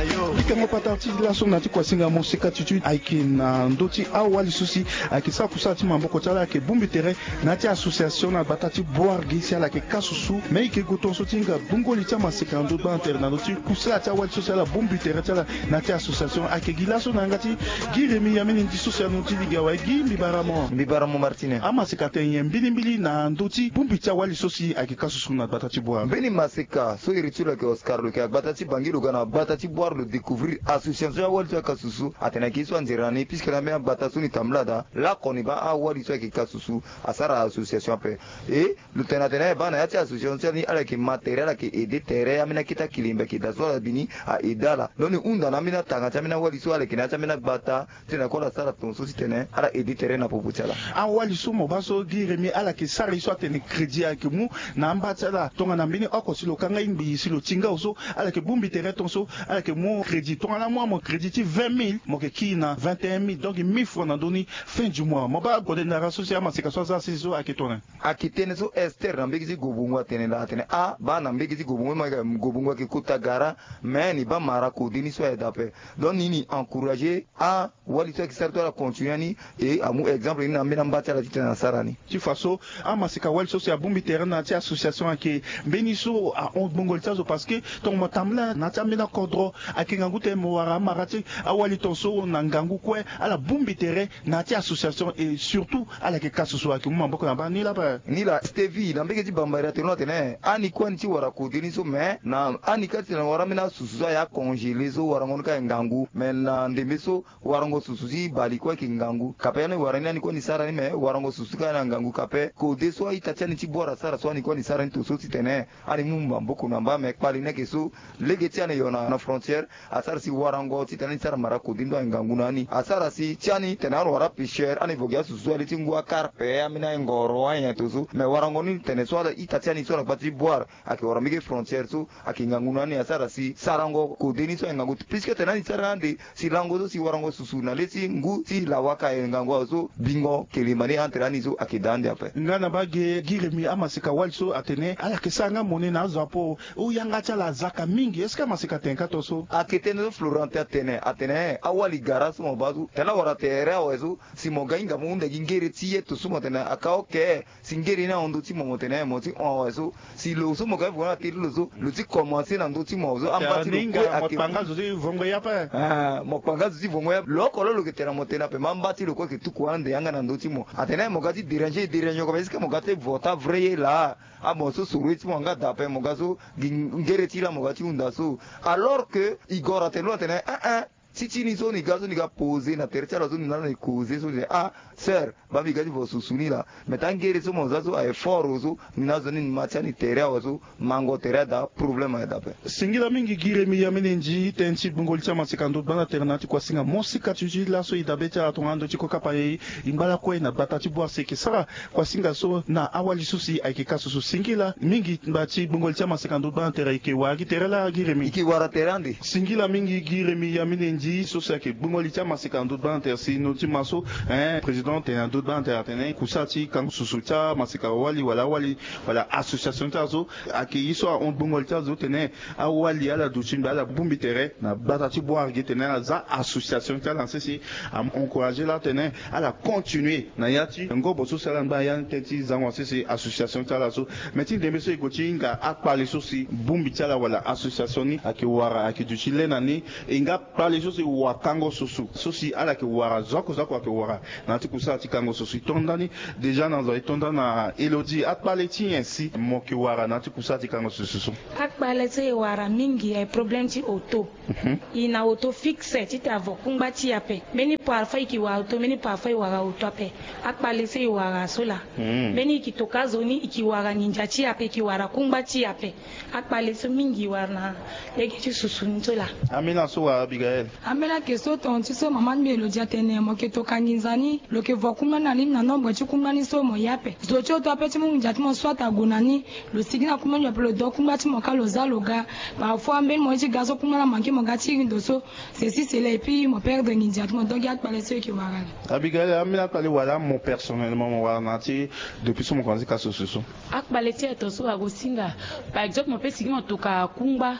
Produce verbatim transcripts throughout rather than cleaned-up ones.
Likango patara ti laso na ti kuasinga moseka ti ti ayeke na ndö ti awali so si ayeke sara kusala ti maboko ti ala ayeke bongbi tere na ya ti association na gbata ti Boargué si ala yeke ka susu. Me e yeke gue tongaso ti hinga gbungo li ti amaseka na ndö gbana tere na ndö ti kusala ti awali so si ala bongbi tere ti ala na ya ti association. Ayeke gi laso na yanga ti Gi Rémy Yamene Ndi so si anu ti lege awe. Gi mbi bara mo. Mbi bara mo Martine. Amaseka atene nyen mbilimbili na ndö ti bongbi ti awali so si ayeke ka susu na gbata ti Boargué? Mbeni maseka so iri ti lo ayeke Oscar, lo yeke na gbata ti Bangui, lo ga na gbata ti Boargué, lo découvrir association awali so ayeke ka susu. Atene ayeke ye so anzere na ni puisque na mbeni agbata so ni tambula daa lakue ni baa awali so ayeke ka susu asara association ape. E lo tene atene baa na ya ti association ti ala ni ala yeke ma tere, ala yeke aidé tere ambeni akete akilembe ayeke daa so ala bi ni a aidé ala. Lo ni hunda na ambeni atanga ti ambeni awali so ala yeke na ya ti ambeni agbata titene kue ala sara tongaso titene ala aidé tere na popo ti ala. Awali so mo baa so Gi Rémy, ala yeke sara ye so atene crédit ayeke mu na amba ti ala tongana mbeni oko si lo kanga ye ngbii si lo ti ngao so, ala yeke bongbi tere tongaso ala yeke mu crédit. Tongana amu amo crédit ti vingt mille, mo yeke kiri na vingt et un mille, donc mille francs na ndö ni fin du mois. Mo baa gode ndara so si amaseka so aza sese so ayeke tongana nyen? Ayeke tënë so Esther na mbege ti Gobongo atene laa, atene ah baa na mbege ti Gobongo, mo yeke Gobongo ayeke kota gara, me ni baa mara kode ni so aye daa ape. Donc ni ni encourager awali so ayeke sara ti ala continue ni, e amu exemple ni na ambeni amba ti ala titene asara ni. Ti fa so amaseka wali so si abongbi tere na ya ti association ayeke mbeni so ahon gbongo li ti azo, parce que tongana mo tambula na ya ti ambeni akodro ayeke ngangu tene mo wara amara ti awali tongaso na ngangu kue ala bongbi tere na ya ti association, et surtout ala yeke ka susu ayeke mu maboko na baa ni laa ape. Ni laa Stevie na mbege ti Bambari atene lo atene ani kue ani ti wara kode ni so, me na ani kâ titene wara ambeni asusu so aye acongélé so warango ni kâ aye ngangu, me na ndembe so warango susu ti bale kue ayeke ngangu. Kape ani wara ni, ani kue ani sara ni, me warango susu kâ aye na ngangu. Kape kode so a-ita ti ani ti Bouar asara so, ani kue ani sara ni tongaso titene ani mu maboko na mbage. Me kpale ni ayeke so, lege ti ani yo na, na frontière, asara si warango titene ani sara mara kode ni so aye ngangu na ani. Asara si ti ani tene ani wara pêcheur, ani vo gi asusu so aye le ti ngu, akarpe, ambeni aye ngoro, ayen tongaso. Me warango ni tene so ala ita ti ani so ala gbata ti Bouar ayeke wara mbage frontière so ayeke ngangu na ani. Asara si sarango kode ni so aye ngangu, puisque tene ani sara ni ande si lango so si warango susu na le ti ngu ti lawaka aye ngangu awe so, bingo kelemba ni entre ani so ayeke daa ande ape. Nga na mbage Gi Rémy, amaseka wali so atene ala yeke sara nga mone na azo apo, o yanga ti ala azaka mingi. Est-ce que amaseka atene kâ tongaso? Ayeke tënë so Florentin atene, atene awali gara so mo baa so tene awara tere awe so, si mo ga hinga mo hunda gi ngere ti ye tongaso mo tene aka oke. Si ngere ni ahon ndö ti mo, mo tene mo ti hon awe so, si lo so mo ga vo na tere lo so, lo ti commencer na ndö ti mo so, amba ti lo kue ayeke, mo kpanga zo ti vongo ya ape. Ah, mo kpanga zo ti vongo ya. Lo oko lo lo yeke tene na mo tene ape, me amba ti lo kue ayeke tuku ande yanga na ndö ti mo. Atene mo ga ti déranger, déranger oko, mais est-ce que mo ga ti vo taa vrai ye laa? Ah, mo so soro ye ti mo yanga daa ape, mo ga so gi ngere ti laa mo ga ti hunda so. Alors que e gora atene lo atene, eh, eh, ti ti ni so ni ga so ni ga poser na tere ti ala so ni na ni causer so ni, ah, sœur, baa mbi ga ti vo susu ni laa. Mais taa ngere so mo za so aye fort so, ni na zo ni ni ma ti ani tere awe so, mango tere adaa, problème aye daa ape. Singila mingi Gi Rémy Yamene Ndi, tënë ti gbungo li ti amaseka ndö ti gbanda tere na ya ti kuasinga moseka ti ti laso e dabe ti ala tongana ndo ti kokapa e, e ngba lakue na gbata ti Bouar si e yeke sara kuasinga so na awali so si ayeke ka susu. Singila mingi ngba ti gbungo li ti amaseka ndö ti gbanda tere, e yeke wara gi tere laa Gi Rémy? E yeke wara tere ande. Singila mingi Gi Rémy Yamene Ndi so si ayeke gbungo li ti amaseka na ndö ti gbanda tere si ndo ti ma so, eh, président tene na ndö ti gbanda tere atene kusala ti kango susu ti amaseka wali wala awali wala association ti azo ayeke ye so ahon gbungo li ti azo tene awali ala duti mbi ala bongbi tere na gbata ti Bouar ge tene ala za association ti ala na sese. Am encourager laa tene ala continuer na ya ti ngobo so si ala ngba na ya ni tënë ti zango na sese association ti ala so. Me ti ndembe so e gue ti hinga akpale so si bongbi ti ala wala association ni ayeke wara ayeke duti le na ni, e nga kpale so si wakango susu so si ala yeke wara zo oko zo oko ayeke wara na ya ti kusala ti kango susu. E to ndani déjà na zo, e to ndani na Élodie, akpale ti nyen si mo yeke wara na ya ti kusala ti kango susu so? Akpale so e wara mingi aye problème ti auto. Mhm. E na auto fixe titene avo kungba ti e ape. Mbeni parfois e yeke wara auto, mbeni parfois e wara auto ape. Akpale so e wara so laa. Mhm. Mbeni e yeke toka zo ni e yeke wara nginza ti e ape, e yeke wara kungba ti e ape. Akpale so mingi e wara na lege ti susu ni so laa. Amina so wa Abigaël. Ambeni ayeke so tongo ti so mama ti mbi lo di atene mo yeke toka nginza ni, lo yeke vo kungba ni na lini na nombre ti kungba ni so mo ye ape. Zo ti oto ape ti mu nginza ti mo soit ague na ni, lo sigi na kungba ni ape, lo do kungba ti mo kâ, lo za lo ga. Parfois ambeni mo ye ti ga so kungba ni amanke mo ga ti iri ndo so. C'est si cela, et puis mo perdre nginza ti mo. Donc akpale so e yeke wara la. Abigail, ambeni akpale wala mo personnellement mo wara na ti depuis so mo komanse ka so so so. Akpale ti aye tonga so ague singa. Par exemple mo pe sigi mo toka kungba,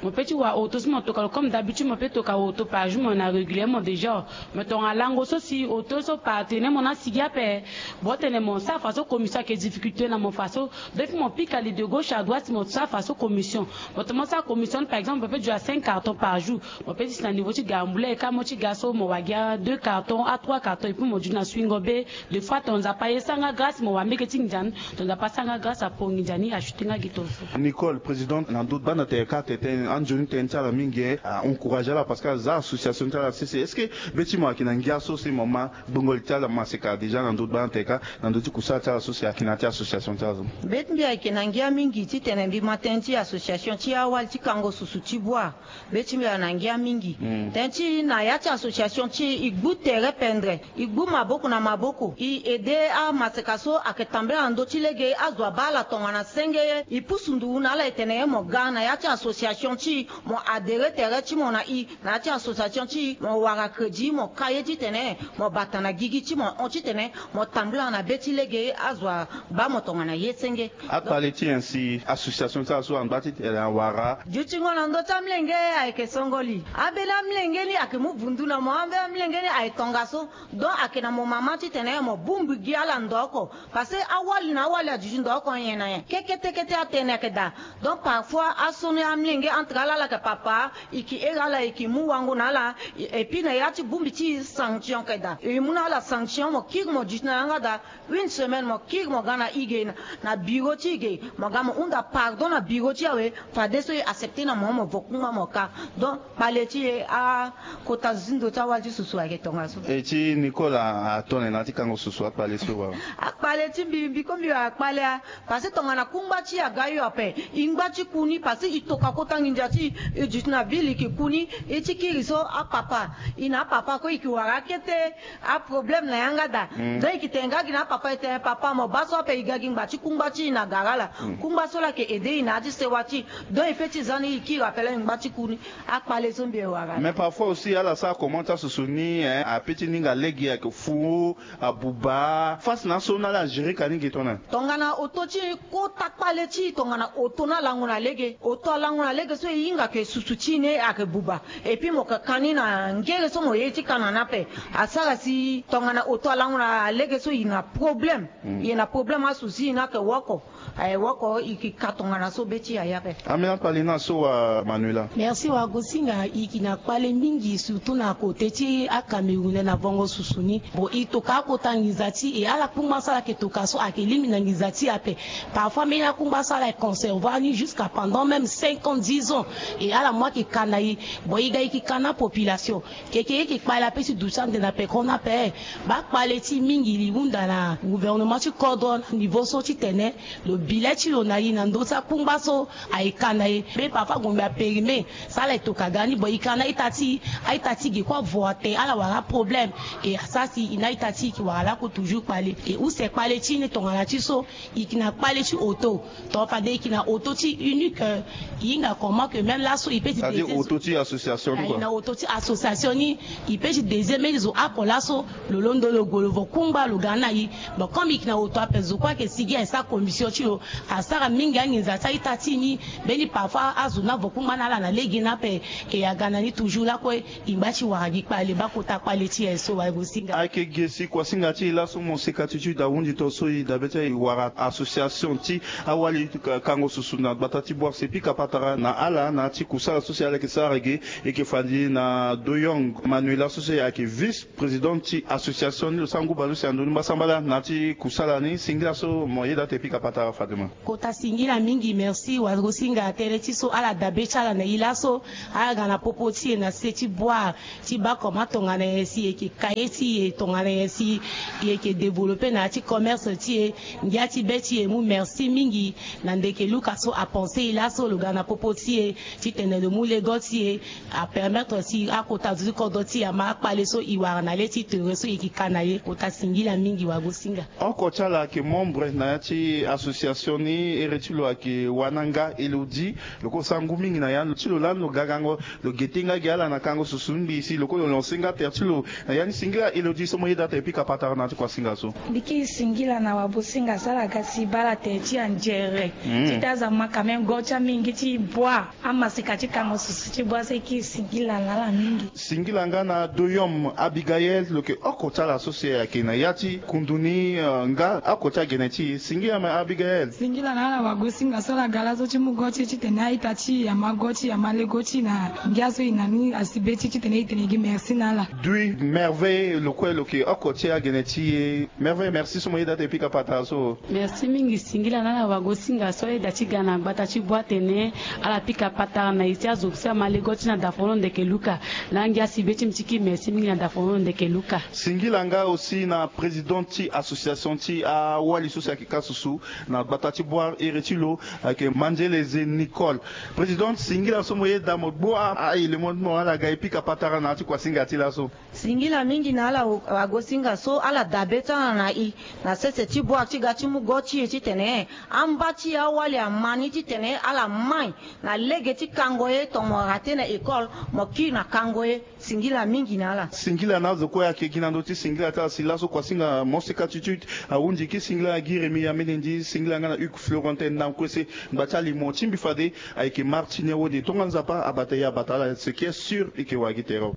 mo pe ti wara oto so mo toka lo comme d'habitude, mo pe toka oto par jour, mo na régulièrement déjà. Mais tongana lango so si oto so par tene mo na sigi ape. Bon, tene mo sara fa so commission ayeke difficulté na mo fa so. Depuis mo pika li de gauche à droite, mo sara fa so commission. Mo tene mo sara commission ni, par exemple mo pe duti na cinq cartons par jour. Mo pe ti si na niveau ti garambula e kâ mo ti ga so mo wara gi a deux cartons, a trois cartons, et puis mo duti na swingo be. Des fois ton Nzapa aye sara nga grâce mo wara mbege ti nginza ni, ton Nzapa asara nga grâce apo nginza ni achuté nga gi ton so. Nicole, présidente na ndö ti bana tere kâ, tene anzoni tënë ti ala mingi, eh, a encouragé ala parce que aza association ti ala sese. Est-ce que be ti mo ayeke na ngia so si mo ma gbongo li ti ala maseka déjà na ndö ti bana tere kâ, na ndö ti kusala ti ala so si ayeke na ya ti association ti ala so? Be ti mbi ayeke na ngia mingi titene mbi ma tënë ti association ti awali ti kango susu ti bua. Be ti mbi ayeke na ngia mingi. Tënë ti na ya ti association ti e, e gbu tere pendere, e gbu maboko na maboko, e aidé amaseka so ayeke tambula na ndö ti lege, azo abaa ala tongana senge ye. E pusu nduru na ala e tene ye mo ga na ya ti association ti e, mo adhérer tere ti mo na e na ya ti association ti e, mo wara crédit, mo ka ye titene mo bata na gigi ti mo hon titene mo tambula na be ti lege, azo abaa mo tongana ye senge. Akpale ti nyen si association ti ala so angba titene awara? Dutingo na ndö ti amilenge ayeke songoli. Ambeni amilenge ni ayeke mu vundu na mo, ambeni amilenge ni ayeke tongaso. Donc ayeke na mo mama titene mo bongbi gi ala ndo oko. Parce que awali na awali aduti ndo oko nyen na nyen. Kekete kete atënë ayeke daa. Donc parfois aso ni amilenge entre ala, ala yeke papa, e yeke iri ala, e yeke mu wango na ala. Et puis na ya ti bongbi ti e sanction ayeke daa. E mu na ala sanction, mo kiri mo duti na yanga daa. Une semaine mo kiri mo ga na e ge na, na bureau ti e ge, mo ga mo hunda pardon na bureau ti e awe. Fadeso e accepté na mo, mo vo kungba mo ka. Donc kpale ti e, akota zi ndo ti awali ti susu ayeke tongaso. E ti Nicole atone na ya ti kango susu, akpale so wa? Akpale ti mbi, mbi ko mbi wara kpale a. Parce que tongana kungba ti e aga yo ape, e ngba ti ku ni, parce que e toka kota nginza ti e, e duti na ville, e yeke ku ni. E ti kiri so apapa, e na apapa ko e yeke wara akete. Aproblème na yanga daa. Donc e yeke tene nga gi na apapa, e tene papa mo baa so ape, e ga gi ngba ti kungba ti e na gara ala. Kungba so laa ayeke aidé e na ya ti sewa ti e. Donc e pe ti za ni, e kiri ape laa e ngba ti ku ni. Akpale so mbi e wara. Mais parfois aussi ala sara comment ti asusu ni, hein, ape ti ninga lege ayeke fou, abuba. Face na aso ni ala agéré ka ni ge tongana? Tongana oto ti e, kota kpale ti e tongana oto ni alango na lege. Oto alango na lege so e hinga ke susu ti e ni ayeke buba. Et puis mo yeke ka ni na ngere so mo ye ti ka na ni ape. Asara si tongana oto alango na lege so e na problème. E na problème, asouci ni ayeke woko. Aye woko, e yeke ka tongana so be ti e aye ape. Ambeni akpale ni so wa Manuela? Merci wa Gosinga, e yeke na kpale mingi surtout na côté ti aCamerounais na vongo susu ni. Bon, e toka akota nginza ti e, ala kungba so ala yeke toka so ayeke lingbi na nginza ti e ape. Parfois mbeni akungba so ala conserver ni jusqu'à pendant même cinq ans, dix ans. E ala mu ayeke ka na e. Bon, e ga e yeke ka na population. Keke e yeke kpale ape ti duti ande na peko ni ape. Baa kpale ti e mingi, e hunda na gouvernement ti kodro na niveau so titene lo bi le ti lo na e na ndö ti akungba so aye ka na e. Mbe parfois gombe apérime. So ala e toka ga ni, bon, e ka na a-ita ti e, a-ita ti e ge kue avo atene ala wara aproblème. E asara si e na a-ita ti e e yeke wara lakue toujours kpale. E use kpale ti e ni tongana ti so. E yeke na kpale ti oto. Tongana fade e yeke na oto ti unique, euh, e hinga comment que même laso e pe ti... C'est-à-dire oto ti association ni, e na oto ti association ni. E pe ti désir mbeni zo oko laso lo londo lo gue lo vo kungba lo ga na e. Bon, comme e yeke na oto ape, zo kue ayeke sigi aye sara commission ti lo. Asara mingi anginza ti a-ita ti e ni. Mbeni parfois azo ni avo kungba na ala na lege ni ape. E aga na ni toujours lakue. E ngba ti wara gi kpale, baa kota kpale ti e so wa Gosinga. Ayeke ge si kuasinga ti e laso mo seka ti ti da hundi to so e dabe ti e wara association ti awali ka-, kango susu na gbata ti Bouar. Si e pika patara na ala na ya ti kusala so si ala yeke sara ge, e yeke fandi na Doyong Manuela so si ayeke vice présidente ti association ni, lo sara ngu baleuse na ndö ni mbasambala na ya ti kusala ni. Singila so mo yeda ti e pika patara fadema. Kota singila mingi, merci wa Gosinga. Tënë ti so ala dabe ti ala na e laso, ala ga na popo ti e na se ti Bouar ti baa comment tongana nyen si e yeke ka ye ti e, tongana nyen si e yeke développer na ya ti commerce ti e. Ngia ti be ti e mu merci mingi na ndeke Luka so apensé e laso, lo ga na popo ti e titene lo mu lego ti e, apermettre Tonga si akota zo ti kodro ti yama akpale so e wara na le ti tere so e yeke ka na ye, kota singila mingi wagosinga. Oko ti ala ayeke membre na ya ti association ni, ere ti lo ayeke wananga elodi. Lo kue lo sara ngu mingi na ya ti lo lani lo gagango. Lo gete nga gi ala na kango susu mbi si lo kue lo lancer nga tere ti lo na ya ni. Singila elodi so mo yeda ate pika patara na ya ti kuasinga so. Mbi kiri singila na wabosinga so ala ga si baa ala tere ti anzere ti ta aza ma quand même go ti amingi ti bua. Amasika ti kango susu ti bua so e kiri singila na ala mingi. Singila nga na doyom abigael lo yeke oko ti ala so si ayeke na ya ti kundu ni. Nga oko ti agene ti e singila ma abigael. Singila na ala wagosinga so ala ga laso ti mu go ti e titene a-ita ti e ama go ti e ama lego ti e na ngia so e na ni asi be ti e titene e tene gi merci na ala. Dui merveille lo kue lo yeke oko ti agene ti e. Merveille merci so mo yeda ate pika patara so. Merci mingi singila na ala wagosinga so ayeda ti ga na gbata ti bua atene ala pika patara na e ti azo so ama lego ti e na dafono ndeke luka. Langi asi be ti mbi ti kiri merci mingi na dafono ndeke luka. Singila nga aussi na président ti association ti awali so si ayeke ka susu na gbata ti bua ere ti lo ayeke manzele ze nicole. Président singila so mo yeda mo gbu a a-ele mo ti mo ala ga e pika patara na ya ti kuasinga ti laso. Singila mingi na ala wagosinga so ala dabe ti ala na e na sese ti bua ti ga ti mu go ti e titene amba ti e awali ama ni titene ala mai na lege ti kango ye tongana mo rate na école mo kiri na kango ye. Singila mingi na ala. Singila na azo kue ayeke gi na ndö ti singila ti ala si laso kuasinga moseka ti ti ahunzi ki singila na gi remi ya mene ndi singila nga na hugues florentin na kue se ngba ti alimo ti mbi fade ayeke martini awode tongana nzapa abata ye abata ala ce qui est sûr e yeke wara gi tere.